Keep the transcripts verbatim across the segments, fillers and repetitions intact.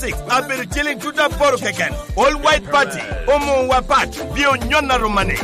Six abedo ciliŋ tuta aboro keken. All White Party omuwa pat bye onyon aruma ni.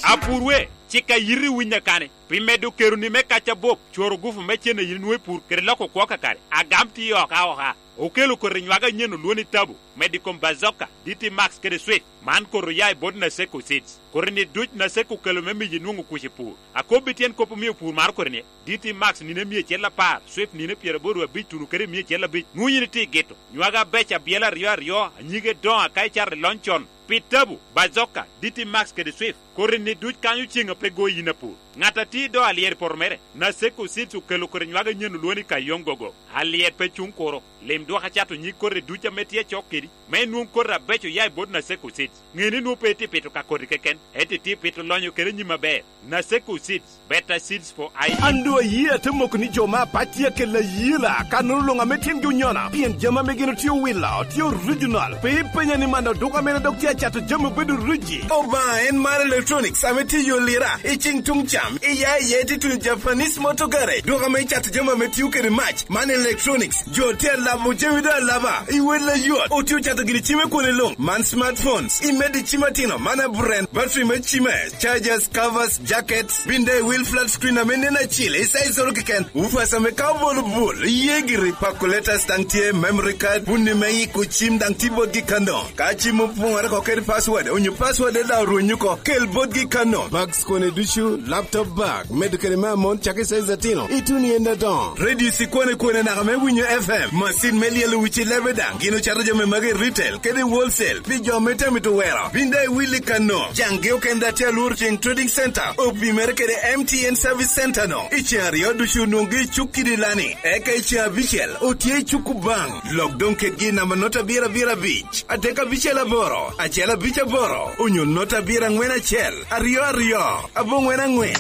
Apurwe, cik a yiti winya kani, pi medo keroni me kac abop, cworo gufu me cen a yin nwoŋo i pur kede loko kwo kakare. Agam tye oka oka. Okelo koti nywage anyen olwoni tabu, medo i kom Bazooka, D T Max kede Swift. Man koti oya i bot Naseko Seeds. Koti-ni duc Naseko okelo me miyi nwoŋo kuc i pur. Akobbi tyen kop omio pur maro koti-ni. D T Max nino emia acel apar, Swift nino pyeraboro abic tuno kede emia acel abic. Nwoŋo yin itye i gito. Nywage abeco abyela aryo aryo, anyige doŋo aka icato i lony con. Pi tabu, Bazooka, D T Max kede Swift, koti-ni duc kanyo ceŋ a pe go yin apur. Ŋat a tye i do alyet i poto mere, Naseko Seeds okelo koti nywage anyen olwoni Kayong Gogo. Alyet pe cuŋ kuro. Lim dwok acato nyig koti duc ame tye acok kedi, me inwoŋ koti abeco oya i bot Naseko Seeds. Ŋe ni nwoŋo pe itye pito ka koti keken, ento itye pito lonyo kede nyim aber. Naseko Seeds, better seeds for I D. An doŋ ayie ate moko ni jo me apac tye akelo ayela, kannono luŋ ame tyengi onyona, pien jami ame gin otye owilo, tye original. Pe ipenya ni man oduka mene dok tye acato jami obedo riji. Obaŋa en mar electronics ame tye i yo lira, i ceŋ tuŋ cam, iya iye tye tuŋ Japanese motor garage, duka ame cato jami ame tio kede mac, man electronics. Jo tye alabo jami doŋ alaba, i wel ayot, otye ocato gini cime kwone luŋ, man smartphones, imedo i cim atino, man aburen, battery me cime, chargers, covers, jackets, bin daŋ i wil flat screen ame nen acil, i size oro keken, ufas ame ka obolo bul, iye giri, calculators daŋ tye, memory card, bunni me yiko cim daŋ tye botgi kano. Ka cim opoŋore oko kede password, onyo password daŋ orwenyo oko, kel botgi kano. Bags kone ducu, laptop bag, medo kede me amon, cak i size atino, ituno i en adoŋo. Radio cikone kwone naka me winyo F M, macin me lyelo wic i lebe daŋ, gin ocato jami magi i retail kede i wholesale, pi jo me temo mito wero. Bin daŋ iwil i kano, caŋgi okene daŋ tye alworo ceŋ Trading Center, opimere kede M T N Service Center no. I ceŋ aryo ducu onwoŋgi i cuk kidi lani, eka i ceŋ abicel otye i cuk Obaŋ. Lok doŋ kedgi i namba nota abiro abiro abic, adek abicel aboro, acel abic aboro, onyo nota abiro aŋwen acel, aryo aryo, aboŋwen aŋwen.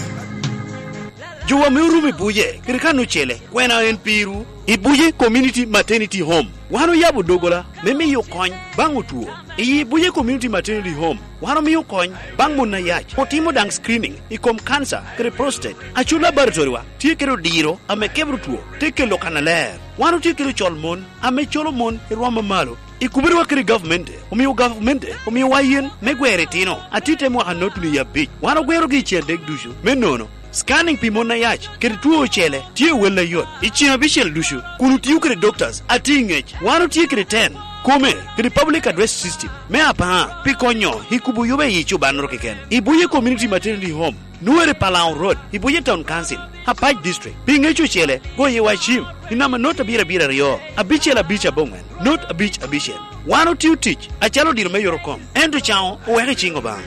Jowa me orumo i Buje, kede kan ocele, kwena en pirwu? I Buje Community Maternity Home, wan oyabo dogola me miyo kony baŋ otwo. I Buje Community Maternity Home, wan omio kony baŋ mon ayac, otimo daŋ screening i kom kanca kede prostate. Acul laboratorywa tye kede odiro ame kebro two, te kelo kannaler. Wan otye kede ocol mon ame colo mon i rwom amalo. I kubiriwa kede gavmente, omio gavamente omiowa yen me gwero itino atit te mwaka notuni i abic. Wan ogwerogi i ceŋ adek ducu. Me nono, scanning pi mon ayac kede two ocele tye wel ayot i ceŋ abicel ducu, kun otio kede doctors atye i ŋec. Wan otye kede ten kome kede public address system me apaŋa pi konyo i kubo yoba i cobannoro keken. I Buye Community Maternity Home, Nuere Palau Road, i Buye Town Council, Apac District. Pi ŋec ocele, goye wa cim i namba not abiro abiro aryo, abicel abic aboŋwen, not abic abicel. Wan otio tic acalo odiro me yot okom, ento caŋo oweko i ciŋ Obaŋa.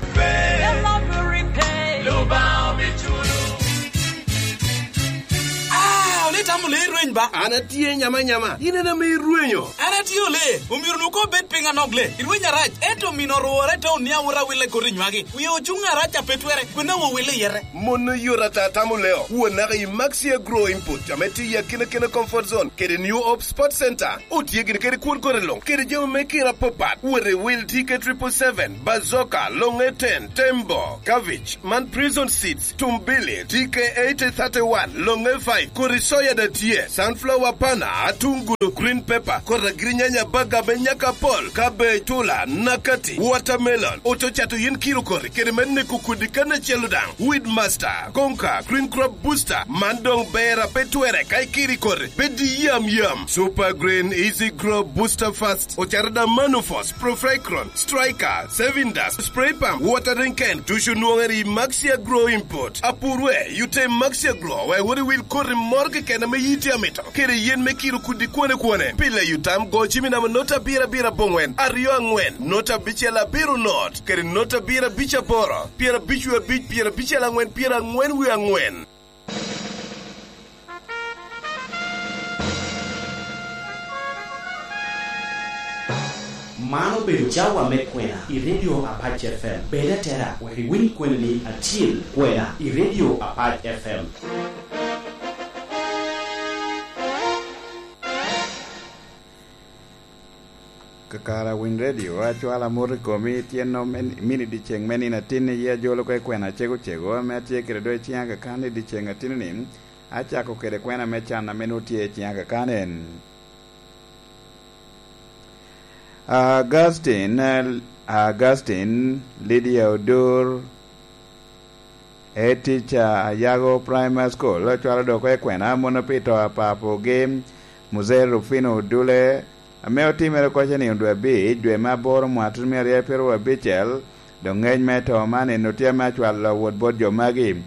Ah, ole itamo lee rweny ba? An atye nyama nyama, in en ame irwenyo. An atye ole, omyero nu ko bed piny anok le. Irweny arac, ento omino orwore te onia wot awille koti nywagi. Wie ocuŋ arac a pe twere, kwena wo wille yete. Mon oyot ata tamo leo, won naka i Maxi Agro Input, ame tye i akina kina comfort zone, kede New Hope Sports Center. Otye gini kede kwon kore luŋ, kede jami me kira apapat. Wot i wil T K triple seven, Bazooka, Longe ten, Tembo, Cabbage, man Prison Seeds, Tumbili, T K eighty thirty-one, Longe five, kodi soya da tye, sunflower pana, atungulu, green pepper, kodi agirinyanya baga me nyaka pol, cabbage, tula, nakati, watermelon, oto cato yen kiro kodi, kede me neko kodi kan acel daŋ, Weedmaster, Konka, Green Crop Booster, man doŋ ber a pe twere ka ikiri kodi, pe di yam yam. Super Green, Easy Grow, Booster Fast, ocato da Manufos, Profecron, Striker, Saving Dust, Spray Pump, Watering Can, ducu nwoŋere i Maxi Agro Import. Apurwe, yute i Maxi Agro, wek wot iwil koti moro keken ame yiti amito, kede yen me kiro kudi kwone kwone. Pile yutam go cimi namba nota abiro abiro aboŋwen, aryo aŋwen, nota abicel abiro not, kede nota abiro abic aboro, pyerabic wie abic, pyerabicel aŋwen, pyeraŋwen wie aŋwen. Man obedo cawa me kwena i Radio Apac F M. Bed atera wek iwiny kwenani acil, kwena i Radio Apac F M. Kakare Winy Radio, acwalo amot i komi, tyen-no me, mini dyeceŋ me nino atin, iye ajolo oko i kwena acego cego, ame atye kede do i ciŋa kakan i dyeceŋ atin-ni. Acako kede kwena me can ame nwoŋo tye i ciŋa kakano en. Augustine, Augustine, Lydia Odur, Etica, Ayago Primary School, ocwalo dok oko i kwena mono pi to a papogi, Mzee Rufino Odule, ame otimere oko i nino dwe abic, dwe me aboro, mwaka tutumia aryo pyeraryo abicel. Dok ngec me to man en otye ame acwalo awot bot jo magi.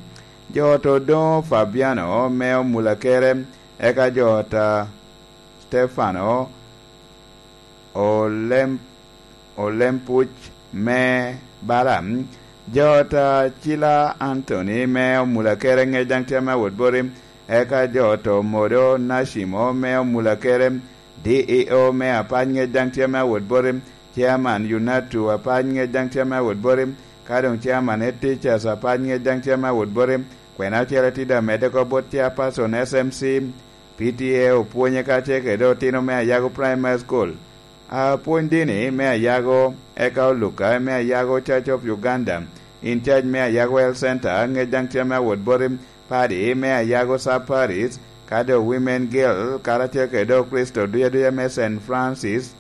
Jo ot Odoŋo Fabiano me Omulakere, eka jo ot a Stefano Olem-, Olempuc me Balaam, jo ot a Cila Anthony me Omulakere, ŋec daŋ tye ame awot boti, eka jo ot Omodo Nacimo me Omulakere, D E O me apac, ŋec daŋ tye ame awot boti, Chairman Unatu apac, ŋec daŋ tye ame awot boti, ka doŋ Chairman Head Teachers apac, ŋec daŋ tye ame awot boti, kwena ocele tye daŋ medde oko bot Chairperson S M C, P T A, opwonye kacel kede otino me Ayago Primary School, apwony dini me Ayago, eka Oluka me Ayago Church of Uganda, in charge me Ayago Health Center, ŋec daŋ tye ame awot boti, padi me Ayago Sub Parish, ka doŋ Women Guild, karacel kede doŋ Kricito duc aduca me Saint Francis,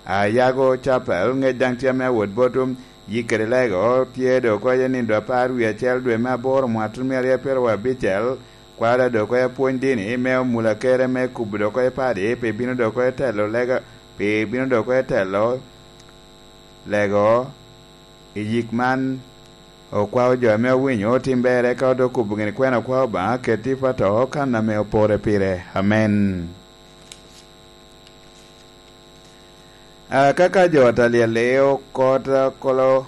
Ayago Chapel, ŋec daŋ tye ame awot botwu, yik kede lego tye doŋ oko i nino dwe apar wie acel dwe me aboro mwaka tutumia aryo pyeraryo abicel, kwalo doŋ oko i apwony dini me Omulakere me kubo doŋ oko i padi, pi bino doŋ oko i telo lega, pi bino doŋ oko i telo lego i yik man. Okwao jo ame owinyo otim berre, ka odoŋ kubo gini kwena okwao Obaŋa keti pato kan ame opore pire. Amen. Akaka jo ot a lyel i okot kolo,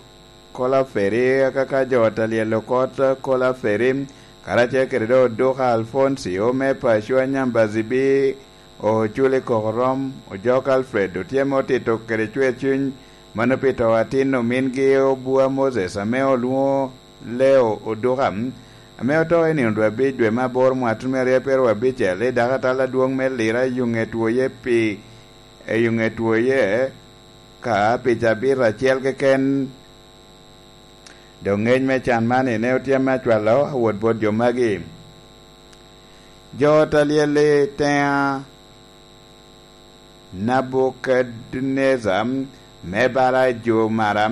kolo aferi, akaka jo ot a lyel okot kolo aferi, karacel kede doŋ Oduka Alfoncio me paco Anyambazibi, Oculi Kokorom, Ojok Alfred, otye ame otito kede cwer cuny, mano pi to atin omingi Obua Moses ame olwoŋo Leo Oduka, ame oto i nino dwe abic dwe me aboro mwaka tutumia aryo pyeraryo abicel i dakatal adwoŋ me Lira i Yuŋetwoye pi, i Yuŋetwoye ka pi cabit acel keken. Doŋ ŋec me can man ene otye ame acwalo awot bot jo magi. Jo ot a lyel i teŋa Nebukadneza me bala i Jumara,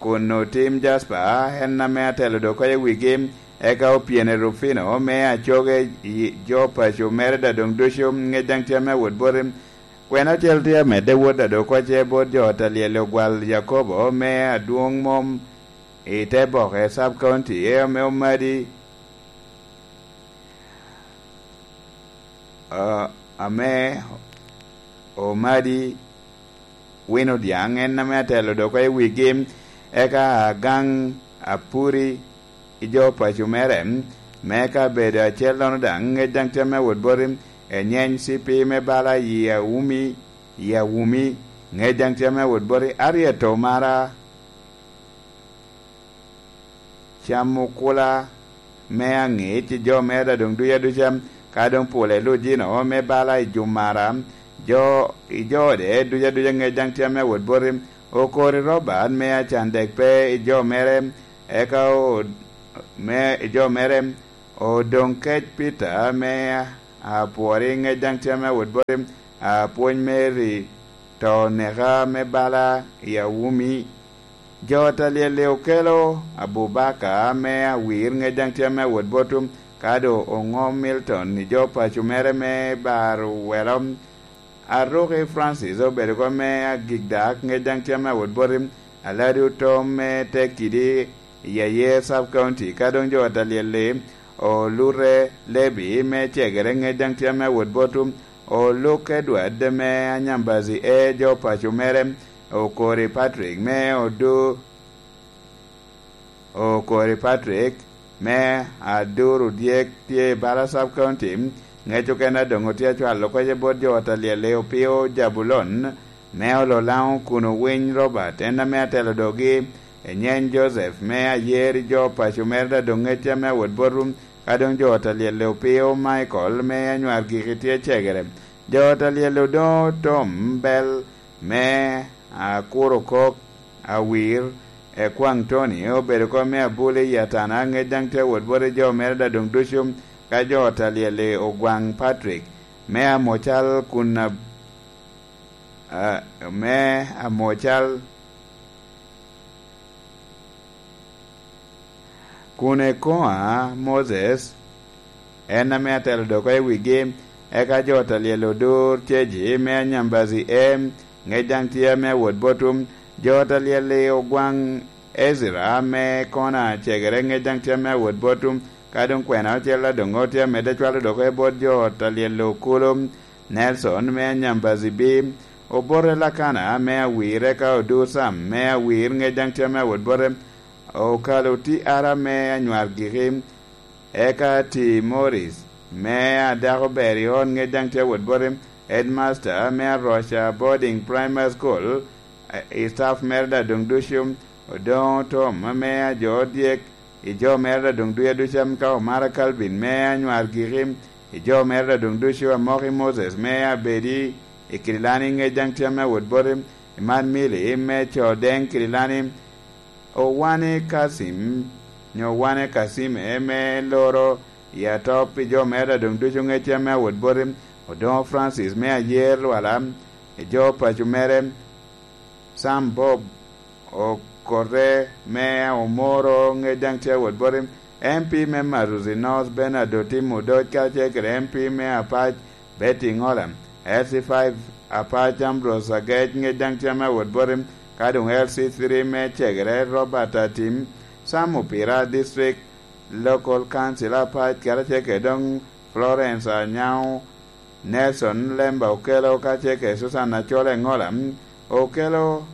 kun otim Jaspa, en ame atelo doŋ oko i wigi, eka opyene Rufino me acoge i jo paco mere da doŋ ducu, ŋec daŋ tye ame awot boti. Kwena ocel tye amedde wot da doŋ oko ce bot jo ot a lyel ogwal Yakobo me adwoŋ mom i te boke Sub County, e ame omadi a-, ame omadi wino dyaŋ, en ame atelo doŋ oko i wigi, eka agaŋ apuri i jo paco mere, me ka bedo acellono daŋ, ŋec daŋ tye ame awot boti, enyeny cipi me bala i Awumi, i Awumi, ŋec daŋ tye ame awot boti, aryeto mara camo kula me aŋic i jo mere da doŋ duc aduca, ka doŋ pule lujino me bala i Jumara, jo, i jo ode duc aduca ŋec daŋ tye ame awot boti, okori Robert me acan dek pe i jo mere, eka o-, me i jo mere, odoŋ kec Peter me apwori ŋec daŋ tye ame awot boti, apwony Mary to neka me bala i Awumi. Jo ot a lyel-li okelo Abubaka me awir ŋec daŋ tye ame awot botwu, ka doŋ oŋom Milton i jo paco mere me baro welo. Aruki Francis obedo oko me agik dak ŋec daŋ tye ame awot boti, Aladi Otom me Tekidi i Ayer Sub County, ka doŋ jo ot a lyel-li olute Lebi me cegere ŋec daŋ tye ame awot botwu, Oluk Edward me Anyambazi e jo paco mere, Okori Patrick me Odu, Okori Patrick me Aduru Dyek tye i bala Sub County, ŋec okene a doŋ otye acwalo kece bot jo ot a lyel-li Opio Jabulon me Ololaŋo kun Owiny Robert, en ame atelo dogi, Enyeny Joseph me Ayer i jo paco mere da doŋ ŋec ame awot botwu, ka doŋ jo ot a lyel-li Opio Michael me Anywar Giki tye cegere. Jo ot a lyel-li Odoŋo Tom Bel me Akuro Kok, Awir, Ekwaŋ Tony obedo oko me Abuli i Atana, ŋec daŋ tye awot bot i jo mere da doŋ ducu, Ka jo ot alyel-li ogwaŋ Patrick me Amocal kun a-, a-, me Amocal kun ekoŋa Moses, en ame atelo doko i wigi, eka jo ot alyel odur ceji me Anyambazi E, ŋec daŋ tye ame awot botwu. Jo ot alyel-li ogwaŋ Ezra me Kona cegere, ŋec daŋ tye ame awot botwu. Ka doŋ kwena ocel adoŋo tye amedde cwalo doko i bot jo ot alyel okulu. Nelson me Anyambazi B, obote Lakana me Awir, eka Odur Sam me Awir, ŋec daŋ tye ame awot bote. Okalo Ti Ara me Anywar Giki, eka Ti Morris me Adako Ber i Ot, ŋec daŋ tye awot bote. Headmaster me Aroca Boarding Primary School, eh, i staff mere daŋ doŋ ducu, Odoŋo Tom me Ajo Dyek, i jo mere daŋ doŋ ducu aduca, ka Omara Calvin me Anywar Giki, i jo mere daŋ doŋ ducu, Amoki Moses me Abedi i Kirilani, ŋec daŋ tye ame awot bote. Iman Mili me Co Deŋ Kirilani, Owane Kacim, nyo Owane Kacim, eme loro i Atop, i jo mere daŋ doŋ ducu, ŋec tye ame awot bote. Odoŋo Francis me Ayer Lwala, i jo paco mere, Sam Bob Okote me Omoro, ŋec daŋ tye awot bote. M P me Maruzi North, Bernard Otim Odoc, kacel kede M P me Apac, Betty Ŋola, L C five Apac Ambrose Agec, ŋec daŋ tye ame awot bote, ka doŋ L C three me Cegere Robert Atim, Sam Opira, District Local Council Apac, karacel kede doŋ Florence Anyao, Nelson Lemba Okelo, kacel kede Susan Acol Eŋola, Okelo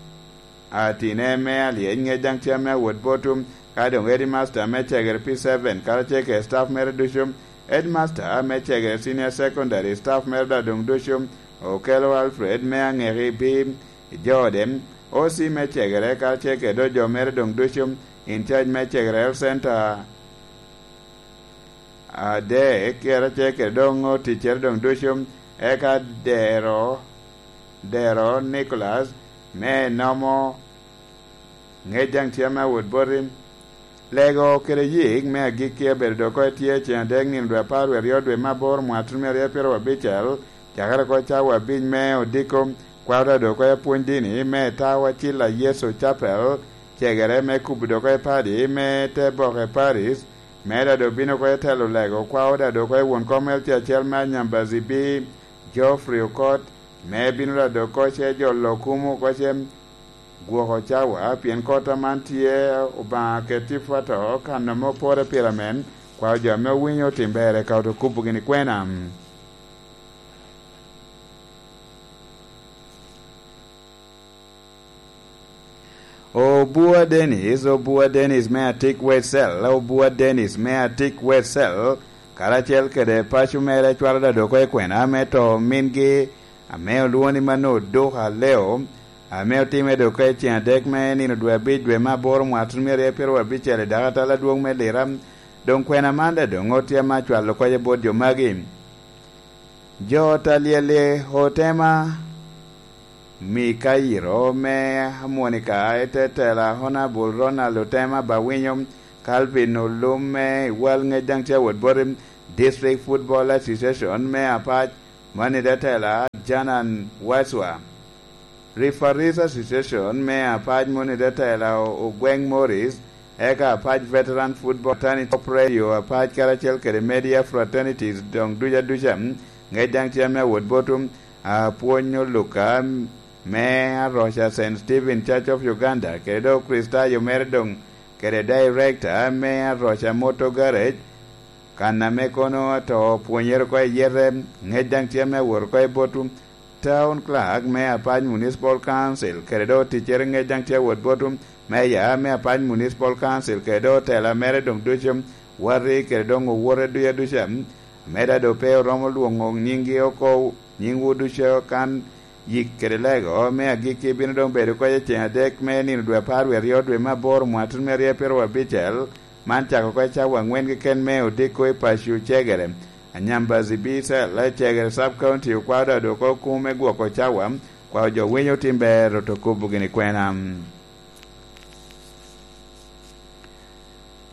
Atine me Alyec, ŋec daŋ tye ame awot botwu, ka doŋ Headmaster me Cegere P seven, karacel kede staff mere ducu, Headmaster me Cegere Senior Secondary, staff mere daŋ doŋ ducu, Okelo Alfred me Aŋeki B, i jo ode, O C me Cegere, karacel kede jo mere doŋ ducu, in charge me Cegere Health Center adek, karacel kede doŋ oticcere doŋ ducu, eka Dero, Dero Nicholas me Nomo, ŋec daŋ tye ame awot boti. Lego kede yik me agikki abedo dok oko etye ceŋ adek nino dwe apar wie aryo dwe me aboro mwaka tuno mia aryo pyeraryo abicel, cakere oko cawa abic me odiko, kwaro dok oko apwony dini me Tawa Cilla Yecu Capel, cegere me kubo dok oko padi me te boke Paris, me dado bino oko telo lego, kwaro dado oko won kom L C acel me Anyambazi B, Geoffrey Okot, me bino dado oko ce jolo kumo oko ce gwoko cawa, pien kop aman tye Obaŋa keti pwoto kan ame opore pire amen, kwao jo ame owinyo otim ber eka oto kubo gini kwena. Obua Dennis, Obua Dennis me Atik West Cell, Obua Dennis me Atik West Cell, karacel kede paco mere cwalo dado oko i kwena me to mingi, ame olwoŋo ni Mano Oduka Leo, ame otime dok i ceŋ adek me nino dwe abic dwe me aboro mwaka tuno mia aryo pyeraryo abicel i dakatal adwoŋ me Lira. Doŋ kwena man daŋ doŋ otye ame acwalo kocce bot jo magi. Jo ot alyel-li otema Mikairo me Amonika, i te tela Honorable Ronald Otema Bawinyo, Calvin Olum me Iwal, ŋec daŋ tye awot boti, District Football Association me Apac, mano i te tela Janan Waswa, Referees Association me Apac, mano i te tela O-, Ogweng Morris, eka Apac Veteran Football Fraternity Corporation, Apac karacel kede Media Fraternities doŋ ducu aduca, ŋec daŋ tye ame awot botwu, apwony Oluka me Aroca Saint Stephen Church of Uganda, kede doŋ Kricitayo mere doŋ, kede Director me Aroca Motor Garage, kan ame kono ato pwonyere oko i yete, ŋec daŋ tye ame awot oko i botwu. Town Clerk me Apac Municipal Council, kede doŋ oticcere ŋec daŋ tye awot botwu. Meya me Apac Municipal Council, kede doŋ otela mere doŋ ducu, wati kede doŋ owote ducu aduca, ame daŋ doŋ pe oromo lwoŋo nyinggi oko, nyingwu ducu kan yik kede lego me agikki bino doŋ bedo oko i ceŋ adek me nino dwe apar wie aryo dwe me aboro mwaka tuno mia aryo pyeraryo abicel, man cako oko i cawa aŋwen keken me odiko i paco cegere. Anyambazi B cell, cegere Sub County okwao daŋ doŋ oko kumo me gwoko cawa, kwao jo winyo otim ber oto kubo gini kwena.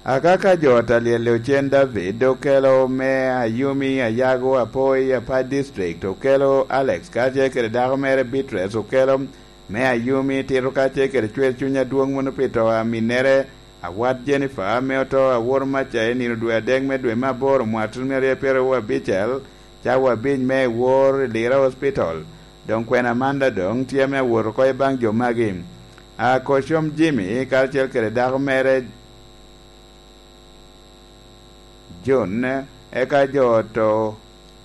Akaka jo ot a lyel Ocen David okelo me Ayumi, Ayago, Apoi, Apac District okelo Alex kacel kede dako mere Beatrice okelo me Ayumi, tito kacel kede cwer cuny adwoŋ mono pi to a minnere, awat Jennifer ame oto aworo maca i nino dwe adek me dwe me aboro mwaka tutumia aryo pyeraryo abicel, cawa abic me ewor i Lira Hospital. Doŋ kwena man daŋ doŋ tye ame awot oko i baŋ jo magi. A Kocom Jimmy karacel kede dako mere Jun, eka jo oto,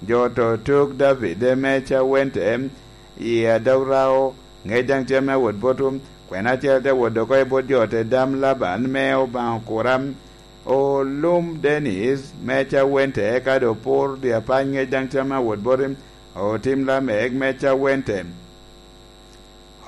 jo oto tuk David me Cawente i Adog Rao, ŋec daŋ tye ame awot botwu, kwena acel te wot oko i bot jo ote dam Laban me Obaŋa okura, olum Denis me Cawente, eka doŋ opur dye apac ŋec daŋ tye ame awot botwu, otim Lamek me Cawente.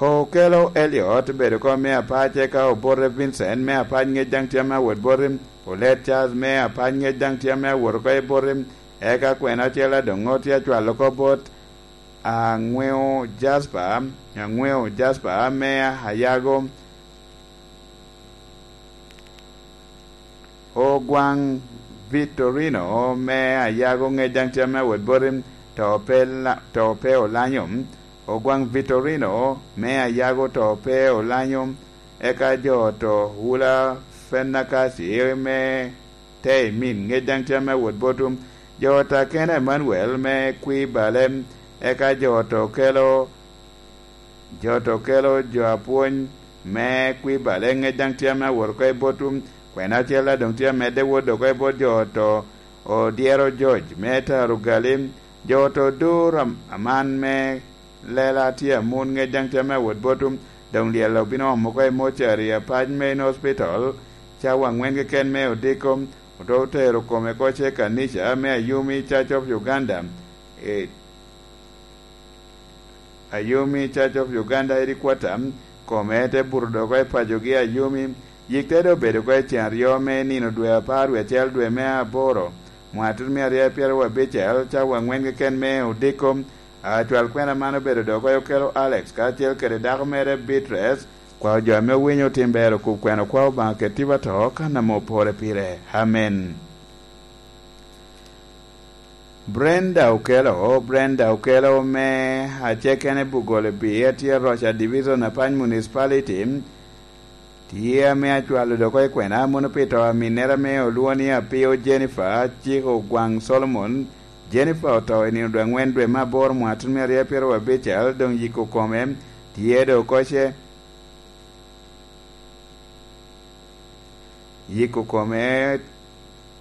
Okelo Eliot bedo kom me apac, eka obote Vincent me apac ŋec daŋ tye ame awot boti, olet Charles me apac ŋec daŋ tye ame awot oko i boti, eka kwena acel adoŋo tye acwalo oko bot aŋweo Jasper, aŋweo Jasper me Ayago. Ogwaŋ Vitorino me Ayago ŋec daŋ tye ame awot boti, to pe la-, to pe olanyo. Ogwaŋ Vitorino me Ayago to pe olanyo, eka jo oto Wula Fenakasi me Teimin ŋec daŋ tye ame awot botwu. Jo oto Akena Emanuel me Kwibale, eka jo oto kelo Jo to kelo jo apwony me Kwibale ŋec daŋ tye ame awot oko i botwu, kwena acel daŋ doŋ tye amedde wot oko i bot jo oto, odyero George me Taro Gali, jo oto dur am-, aman me lela tye amun ŋec daŋ tye ame awot botwu, doŋ lyel obino omo oko i mocari apac me in hospital, cawa aŋwen keken me odiko, oto otero kome oko ce kanica me Ayumi Church of Uganda, e, Ayumi Church of Uganda Headquarter, kome te buto dok oko i pacogi Ayumi, yik te doŋ bedo oko i cen aryo me nino dwe apar wie acel dwe me aboro, mwaka tutumia aryo pyeraryo abicel, cawa aŋwen keken me odiko. Acwal kwena man obedo dok oko i okelo Alex karacel kede dako mere Beatrice, kwao jo ame owinyo otim ber okub kwena okwao Obaŋa kede tipo ato kan ame opore pire. Amen. Brenda Okello, Brenda Okello me Acekene Bugolo Bii, atye Roca Division, Apany Municipality, tye ame acwalo dok oko i kwena mono pi to a minnere ame olwoŋo ni Apio Jennifer, cik Ogwaŋ Solomon. Jennifer oto i nino dwe aŋwen dwe me aboro mwaka tutumia aryo pyeraryo abicel, doŋ yiko kome tye dok oko ce. Yiko kome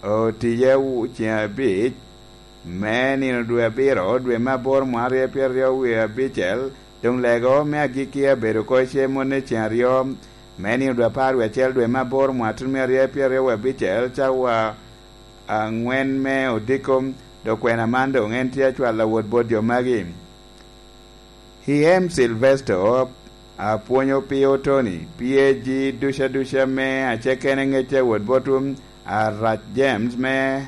otiye wu-, ceŋ abic me nino dwe abiro, dwe me aboro mwaka aryo pyeraryo wie abicel, doŋ lego me agikki abedo oko ce mone ceŋ aryo me nino dwe apar wie acel dwe me aboro mwaka tutumia aryo pyeraryo wie abicel, cawa aŋwen me odiko, dok kwena man doŋ en tye acwalo awot bot jo magi. I M Silvesto, apwonyo Pio Tony, P A G duca duca me Acekene ŋec awot botwu, Arac James me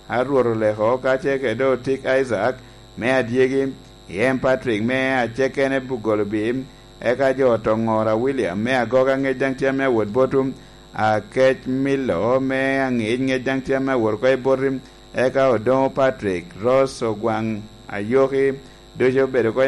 Arwot Oleko, kacel kede Otik Isaac me Adyegi, i M Patrick me Acekene Bugolo Bim, eka jo Tongora William me Agoga ŋec daŋ tye ame awot botwu, Akec Milo me Aŋic ŋec daŋ tye ame awot oko i boti, eka Odoŋo Patrick, Rose Ogwaŋ Ayoki, ducu obedo oko